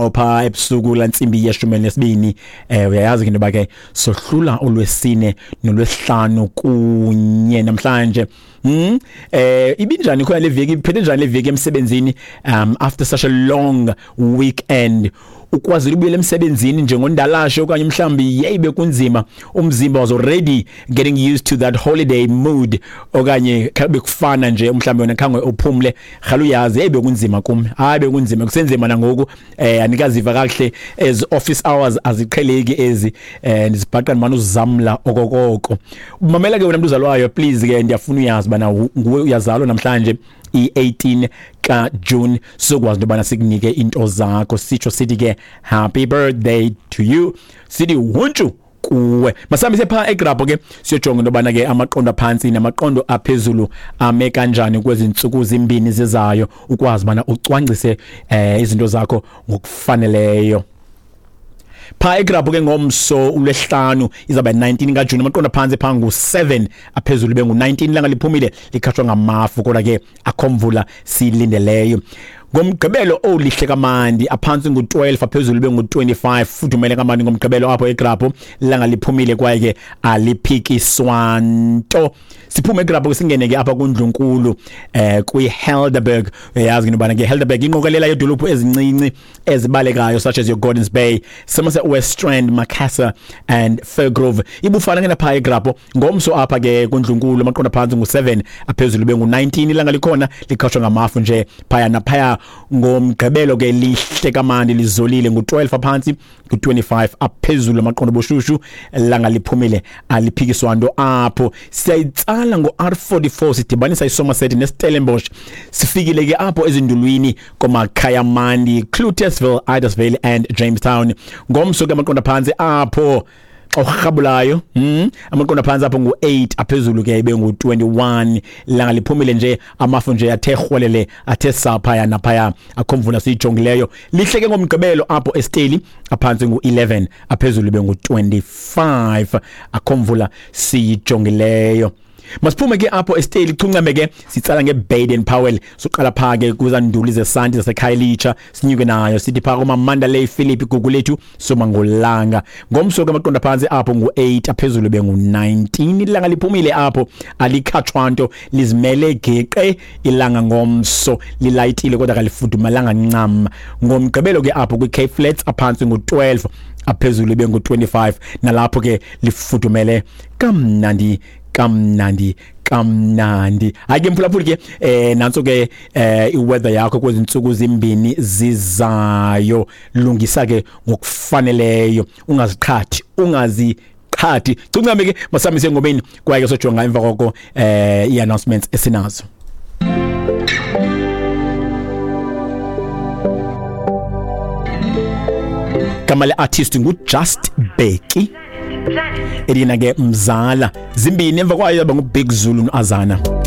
Opha ebusuku lantsimbi ye-12, uyayazi ke into yoba ke sohlula olwesine nolwesihlanu kunye namhlanje. Ibinjani khona le veki, iphethe njani le veki emsebenzini, after such a long weekend? Ukwazile ubuyela emsebenzini njengondalashe okanye mhlawumbi yeyi bekunzima, umzimba was already getting used to that holiday mood, okanye bekufana nje mhlawumbi wena khange uphumle? Rhala uyazi, yeyi bekunzima kum, hayi bekunzima, kusenzima nangoku, andikaziva kakuhle, as office hours aziqheleki ezi, ndizibhaqa ndimane uzamla okokoko. Mamela ke wena mntu uzalwayo, please ke ndiyafuna uyazi bana nguwe uyazalwa namhlanje i-18 kaJune, sokwazi into yobana sikunike into zakho, sitsho sithi ke happy birthday to you, sithi huntshu kuwe. Masihambise phaa egrabho ke siyojonga into yobana ke amaqondo aphantsi namaqondo aphezulu ame kanjani kwezi ntsuku zimbini zizayo, ukwazi ubana ucwangcise izinto zakho ngokufaneleyo. Phaa egrabho ke ngomso ulwesihlanu izawuba 19 kaJuni, amaqondo aphantsi phaa ngu-7, aphezulu bengu-19, ilanga liphumile likhatshwa ngamafu, kodwa ke akho mvula siyilindeleyo. Ngomgqibelo olihle kamandi, aphantsi ngu-12, aphezulu bengu-25, fudumele kamandi ngomgqibelo apho egrabho, ilanga liphumile kwaye ke aliphikiswa nto. Siphume egrabho ke singene ke apha kundlunkulu, kwi-Helderberg. Uyayazi ke intobana ke Helderberg inqokelela yedolophu ezincinci ezibalekayo such as your Gordons Bay, Somerset West Strand, Macassar and Firgrove. Ibufana ke napha egrabho ngomso apha ke kundlunkulu, amaqondo aphantsi ngu-7, aphezulu bengu-19, ilanga likhona likhatshwa ngamafu nje phaya naphaya. Ngomgqibelo ke lihle kamandi, lizolile, ngu-12 aphantsi, ngu-25 aphezulu amaqondo boshushu, ilanga liphumile aliphikiswa nto apho. Siyayitsala ngo-R44 sidibanisa iSomerset neStellenbosch, sifikile ke apho ezindulwini komakhayamandi, Cloetesville, Idasville and Jamestown. Ngomso ke amaqondo aphantsi apho xa urhabulayo, amaqondo aphantsi apho ngu-8, aphezulu ke ibe ngu-21, ilanga liphumile nje, amafu nje athe rhwelele, athe saa phaya naphaya, akho mvula siyijongileyo. Lihle ke ngomgqibelo apho eSteli, aphantsi ngu-11, aphezulu ibe ngu-25, akho mvula siyijongileyo. Masiphume ke apho eSteli, chuncame ke sitsala ngeBaden Powell, soqala phaa ke kwizanduli zesanti zaseKhayelitsha, sinyuke nayo sithi phaa komaMandalay, Philip, Gugulethu, Somangolanga. Ngomso ke amaqondo aphantsi apho ngu-8, aphezulu bengu-19, ilanga liphumile apho alikhatshwa nto, lizimele geqe ilanga ngomso, lilayitile kodwa kalifudumalanga ncam. Ngomgqibelo ke apho kwi-Cape Flats, aphantsi ngu-12, aphezulu bengu-25, nalapho ke lifudumele kamnandi kamnandi kamnandi. Hayi ke mphulaphuli ke, nantso ke iweather yakho kwezi ntsuku zimbini zizayo. Lungisa ke ngokufaneleyo, ungaziqhathi, ungaziqhathi. Cuncame ke masamise engomeni, kwaye ke sojonga emva koko i-announcements esinazo. Gama le-artist ngu-Just Becky, elina ke mzala zimbini, emva kwayo yaba nguBig Zulu noAzana.